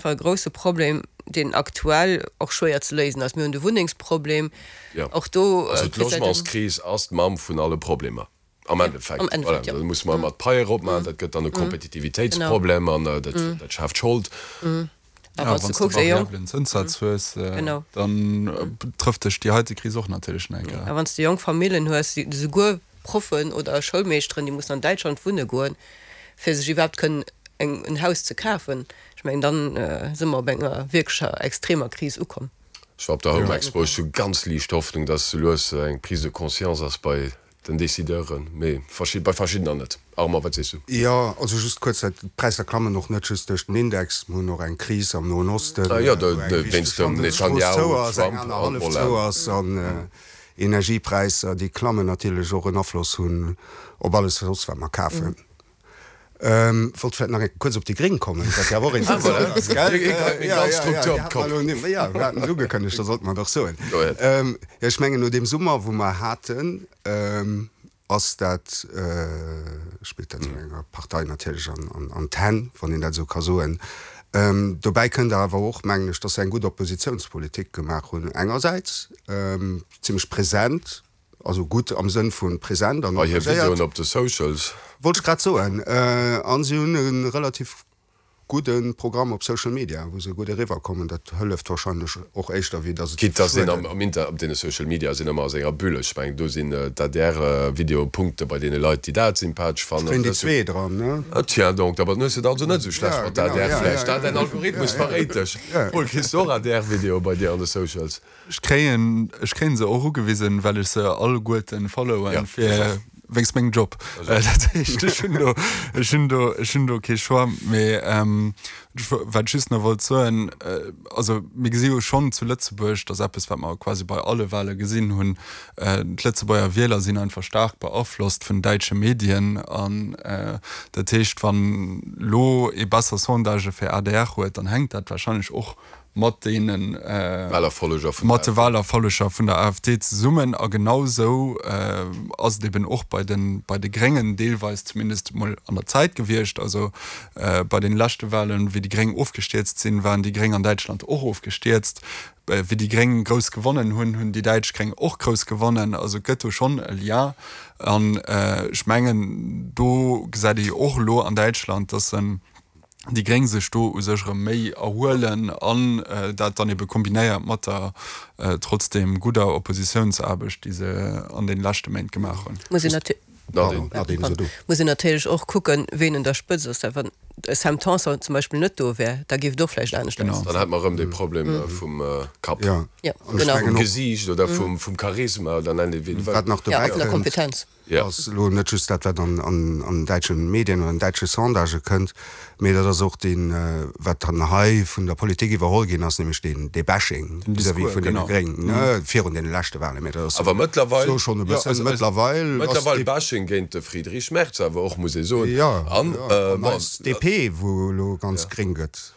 Fall e grousse Problem, deen aktuell och schwéier ze léisen ass. Mir hunn de Wunnengsproblem. Och do. Also d'Logementskris ass d'Mamm vun alle Problemer am Endeffekt. Voilà, da musse mer ëmmer d'Paie eropmaachen, dat gëtt dann e Kompetitivitéitsproblem an dat schaaft Schold. A wann s de variablen Zënssaz hues, dann trëfft dech déi heite Kris och natierlech nach eng Kéier. A wann s de jonk Famillen hues, déi esouguer Proffen oder Schoulmeeschteren, déi mussen an Däitschland wunne goen, fir sech iwwerhaapt kënnen en Haus ze kafen, ech mengen, dann si mer op enger wierklecher extremer Kris ukomm. Ech war op der Home Expo, ech hu ganz liicht Hoffnung, dass sou lues eng Prise de conscience ass bei den Decideuren, mee bei verschiddener net. Armand, wat sees du? Jo, also just kuerz, d'Präisser klammen och net just duerch den Index. Mir hunn och eng Kris am Noen Osten, wou eng wichteg Handelsstrooss zou ass, eng aner hallef zou ass, an Energiepräisser, déi klammen, natierlech och en Afloss hunn op alles soss, wat mer kafen. Wollt vläit nach eng kuerz op déi Gréng kommen, wat jo awer och interessant ass, gell? Jo, jo, jo, mir haten et ugekënnegt, da sollte mer et och soen. Jo, ech mengen, no deem Summer, wou mer haten, ass dat, spillt dat esou enger Partei natierlech an d'Hänn, wann een dat esou ka soen. Dobäi kënnt awer och, mengen ech, dass se eng gutt Oppositiounspolitik gemaach hunn engersäits, zimmlech present, Also gutt am Sënn vu present an engagéiert. Hir Videoen op de Socials. Wollt ech grad soen. A si hunn e relativ gudde Programm op Social Media, wou se gutt eriwwer kommen. Dat hëlleft warscheinlech och éischter, wéi datt et Quitte dass een am Inter op deene Social Media sinn ëmmer a senger Bulle. Ech mengen, do sinn d'ADR-Videoe Punkte bei deene Leit, déi dat sympathesch fannen. Kréien déi zwee dran, ne? Tiens donc, da hues de et also net esou schlecht mat der ADR vläicht. Däin Algorithmus verréit dech. Paul, kriss du och ADR-Videoe bei dir an de Socials? Ech kréien, ech kréien se och ugewisen, well ech se alleguerten followen fir wéinst mengem Job. Dat heescht, ech hunn do, ech hunn do, ech hunn do kee Choix. Mee wat ech just nach wollt soen, also mir gesi jo schonn zu Lëtzebuerg, dat ass eppes, wat mer quasi bei alle Wahle gesinn hunn, d'Lëtzebuerger Wieler sinn einfach staark beaflosst vun däitsche Medien. An dat heescht, wann elo ee besser Sondagë fir adr huet, dann hänkt dat wahrscheinlech och mat deene mat de Wahlerfolleger vun der AfD zesummen. A genau esou ass et eben och bei de bei de Gréngen deelweis zumindest emol an der Zäit gewiescht. Also bei den leschte Wahlen, wéi déi Gréng ofgestierzt sinn, waren déi Gréng an Däitschland och ofgestierzt. Wéi déi Gréng grouss gewonnen hunn, hunn déi däitsch Gréng och grouss gewonnen. Also et gëtt do schonn e Lien. An ech mengen, do gesäit ee jo och elo an Däitschland, datt en déi Gréng sech do u sech erëm méi erhuelen an dat dann ebe kombinéiert mat der trotzdem gudder Oppositiounsaarbecht, déi se an deene leschte Méint gemaach hunn. Muss een natierlech och kucken, ween un der Spëtzt ass. Wann de Sam Tanson zum Beispill net do wär, da géif et och vläicht anescht ausgesinn. Dann hätte mer erëm dee Problem vum Kapp, vum Gesiicht oder vum Charisma oder nennt et wéi een wëll. Wat nach dobäi kënnt, ass elo net just dat, wat an däitsche Medien oder an däitsche Sondagë kënnt, mee dat ass och deen, wat dann hei vun der Politik iwwerholl ginn ass, nämlech deen, dee Bashing vis-à-vis vun deene Gréng, ne, virun deene leschte Wahlen. Mee dat ass Awer mëttlerweil, sou schonn e bëssen, mëttlerweil ass mëttlerweil Bashing géint de Friedrich Merz awer och, muss ee soen. Jo, an, an eis DP, wou elo ganz gréng gëtt.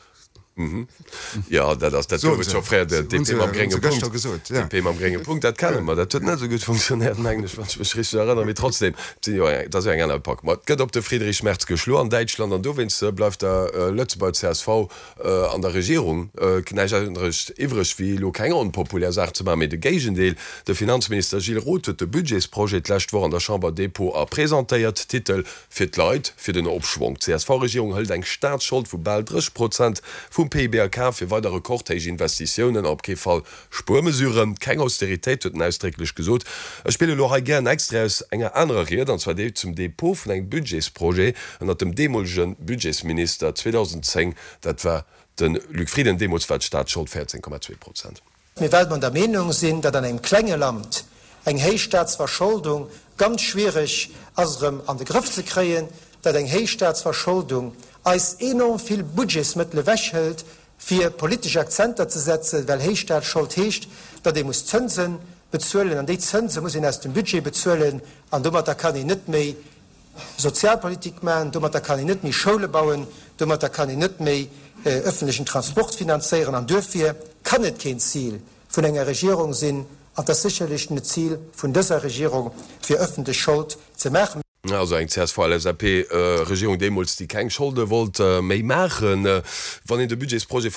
Jo, dat ass, dat gouf et scho fréier, de DP mam grénge Punkt. DP mam grénge Punkt, dat kenne mer. Dat huet net esou gutt funktionéiert, mengen ech, wann ech mech richteg erënneren. Mee trotzdem, et sinn jo eng, et ass jo eng aner Epoque. Ma et gëtt op de Friedrich Merz geschloen an Däitschland an dowéinst bleift der Lëtzebuerger csv an der Regierung näischt anescht iwwreg, wéi elo keng onpopulär Saach ze maachen, mee de Géigendeel. De Finanzminister Gilles Roth huet de Budgetsprojet d'lescht Woch an der Chamber dépôt a presentéiert. Titel, Fir d'Leit, fir den Opschwong. D'CSV-Regierung hëlt eng Staatsschold vu bal 30 Prozent vum PIB a Kaf fir weider rekordhéich Investitiounen a op kee Fall Spuermesuren. Keng Austeritéit, huet en ausdrécklech gesot. Ech spille lo hei gär en Extrait aus enger anerer Ried, an zwar déi zum Depot vun engem Budgetsprojet ënnert dem deemolege Budgetsminister 2010, dat war de Luc Frieden. Deemools war d'Staatsschold 14,2 Prozent. Mee well mer der Meenung sinn, datt an engem klenge Land eng héich Staatsverscholdung ganz schwiereg ass erëm an de Grëff ze kréien, datt eng héich Staatsverscholdung eis enorm vill Budgetsmëttel ewechhëlt fir politesch Akzenter ze setzen, well héich Staatsschold heescht, datt ee muss Zënse bezuelen an déi Zënse muss een aus dem Budget bezuelen an domatter kann een net méi Sozialpolitik maachen, domatter kann een net méi Schoule bauen, domatter kann een net méi öffentlechen Transport finanzéieren an duerfir kann et keen Zil vun enger Regierung sinn, an et ass sécherlech net d'Zil vun dëser Regierung, fir öffentlech Schold ze maachen. Also eng CSV-LSAP-Regierung deemools, déi keng Scholde wollt méi maachen. Wann een de Budgetsprojet.